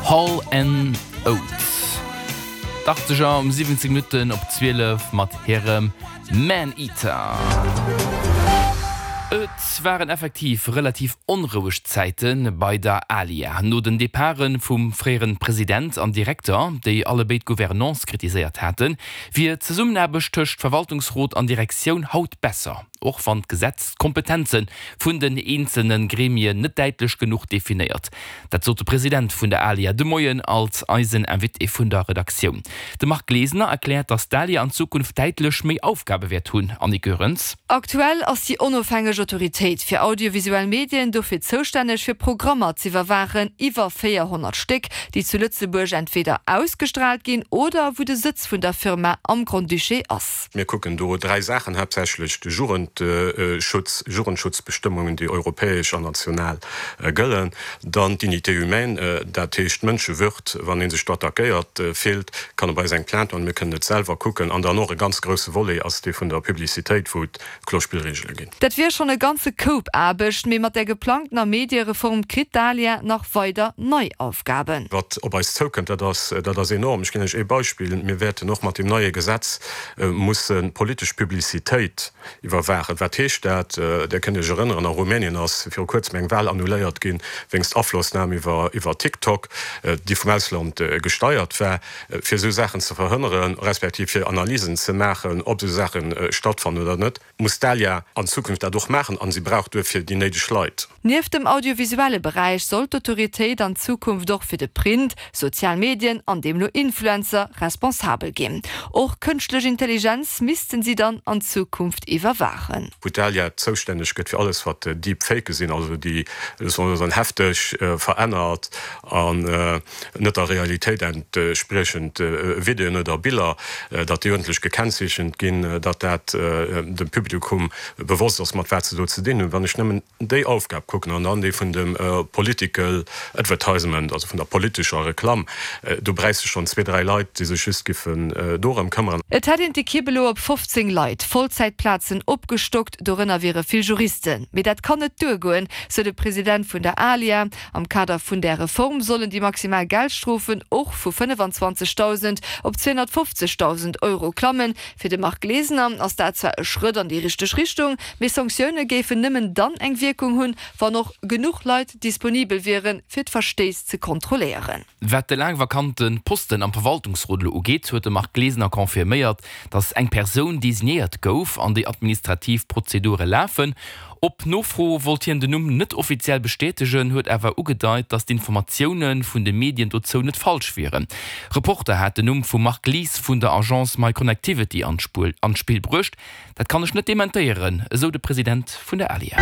Hall and Oates. D'Achtzeger um 17 Minutten op 12 mat hirem Maneater. Et waren effektiv relativ onroueg Zäite bei der ALIA. No den Departe vum fréiere President an Direkter, déi allebéid d'Gouvernance kritiséiert haten, wier d'Zesummenaarbecht tëscht Verwaltungsrot an Direktioun haut besser. Och wann d'Gesetz d'Kompetenze vun den eenzelne Gremien net däitlech genuch definéiert. Dat sot de President vun der ALIA de Moien als eisen Invité vun der Redaktioun. De Marc Glesener erkläert, datt d'ALIA an Zukunft däitlech méi Aufgabe wäert hunn. Annick Goerens. Aktuell ass déi onofhängeg Autoritéit fir audiovisuell Medien dofir zoustänneg fir Programmer z'iwwerwaachen, iwwer 400 Stéck, déi zu Lëtzebuerg entweder ausgestraalt ginn oder wou de Sëtz vun der Firma am Grand-Duché ass. Mir kucken do dräi Saachen haaptsächlech, de Jugendschutz, Jugendschutzbestëmmungen, déi europäesch an national gëllen, dann d'Dignité humaine, dat heescht d'Mënschewürd, wann ee sech do attackéiert fillt, kann e bei eis eng Plainte maachen, mir kënnen et selwer kucken, an dann och e ganz grousse Volet ass dee vun der Publicitéit, wou et kloer Spillregele ginn. Dat wier schonn e ganze Koup Aarbecht, mee mat der geplangtener Mediereform kritt d'ALIA nach weider nei Aufgaben. Wat op eis zoukënnt, dat ass, dat ass enorm. Ech ginn lech ee Beispill, Mir wäerten och mat deem neie Gesetz musse politesch Publicitéit iwwerwaachen. Wat heescht dat? Dir kënnt Iech erënneren, a Rumänien ass viru kuerzem eng Wahl annuléiert ginn, wéinst Aflossnam iwwer, iwwer TikTok, déi vum Ausland gesteiert war. Fir esou Saachen ze verhënneren, respektiv fir Analysen ze maachen, ob esou Saache stattfannen oder net, muss d'ALIA an Zukunft dat och maachen a si brauch duerfir déi néideg Leit. Nieft dem audiovisuelle Beräich soll d'Autoritéit an Zukunft och fir de Print, sozial Medien an deemno Influencer responsabel ginn. Och kënschtlech Intelligenz missten si dann an Zukunft iwwerwaachen. Wou d'ALIA zoustänneg gëtt fir alles wat Deepfake sinn, also déi, soll mer soen, hefteg verännert an net der Realitéit entspriechend Videoen oder Biller, datt déi uerdentlech gekennzeechent ginn, datt dat dem Publikum bewosst ass, mat wat se do ze dinn hunn. Wann ech nëmmen déi Aufgab kucken an dann déi vun dem political advertisement, also vun der politescher Reklamm, do bräichs de schonn zwee, dräi Leit, déi sech just giffen dorëm këmmeren. Et hätt een d'Ekipp elo op 15 Leit, Vollzäitplazen, opgestockt, dorënner wiere vill Juristen. Mee dat kann net duergoen, sou de President vun der ALIA. Am Kader vun där Reform sollen déi maximal Geldstrofen och vu 25.000 op 250.000 Euro klammen. Fir de Marc Glesener ass dat zwar e Schrëtt an déi richteg Richtung, mee Sanktioune géifen nëmmen dann eng Wierkung hunn, wann och genuch Leit disponibel wieren, fir d'Verstéiss ze kontrolléieren. Wat de laang vakante Posten am Verwaltungsrot elo ugeet, huet de Marc Glesener confirméiert, datt eng Persoun designéiert gouf an déi administrativ Prozedure lafen. Op Nofro wollt hien den Numm net offiziell bestätegen, huet awer ugedeit, datt d'Informatioune vun de Medien dozou net falsch wieren. Reporter hat den Numm vum Marc Lies vun der Agence MyConnectivity an d'Spill bruecht. Dat kann ech net dementéieren, esou de President vun der ALIA.